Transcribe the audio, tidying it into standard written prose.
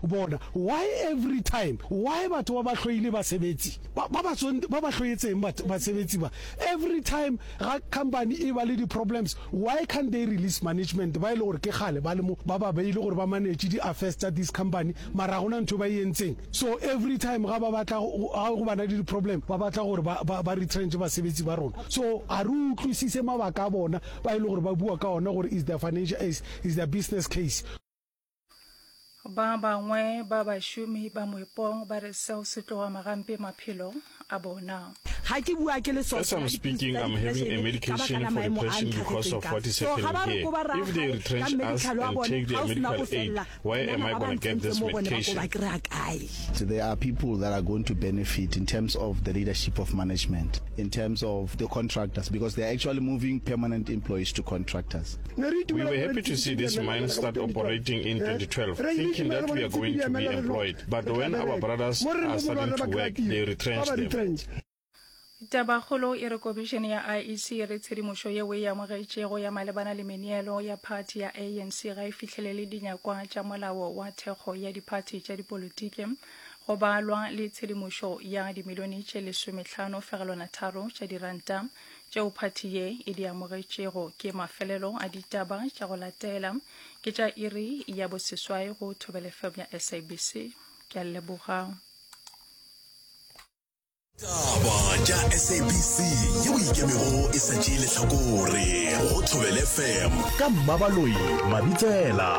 Bona, why every time, why batho ba ba hloile basebetsi? Ba, ba ba ba ba hloetseng bat, basebetsi ba? Every time ga company e ba le di problems, why can't they release management ba e le gore ke kgale ba le mo, ba ba beile gore ba manage di affairs tša this company, mara ga gona ntho ba e entseng. So every time ga ba batla ga go bana le di problem, ba batla gore ba, ba, ba retrench basebetsi ba rona. So ga re utlwisise mabaka a bona ba e le gore ba bua ka ona gore is their financial, is, is their business case. Ba bangwe ba bašomi ba moepong ba re seo se tlo ama gampe maphelo a bona. Ga ke bua ke le so, As ke I'm na dipilisi speaking, tsa I'm having a depression ka baka medication la for maemo a depression because ntlhagetseng of ka. what is So ga happening ba re here. ko ba raya If they gae ka retrench us medical wa and bone, take ga their o sena medical go aid, felela, where am banana I ba ba gonna get this ntsentse mo bone ba ko medication? ba kry-a kae? There are people that are going to benefit in terms of the leadership of management, in terms of the contractors, because they are actually moving permanent employees to contractors. We were happy to see this mine start operating in 2012, thinking that we are going to be employed. But when our brothers are starting to work, they retrench them. Tabakgolo e re Komišene ya IEC e re tshedimošo yeo e amogetšego ya malebana le meneelo ya phathi ya ANC ga e fihlelele dinyakwa tša molao wa thekgo ya diphathi tša dipolotiki go balwa le tshedimošo ya dimilione tše lesomehlano fegelwana tharo tša diranta Tšeo phathi ye e di amogetšego ke mafelelo a ditaba tša go latela ke tša iri ya boseswai go Thobela FM ya SABC. Ke a leboga. Taba tša SABC yeo ikemego e sa tšee lehlakore go Thobela FM ka Mmabaloi Mabitsela.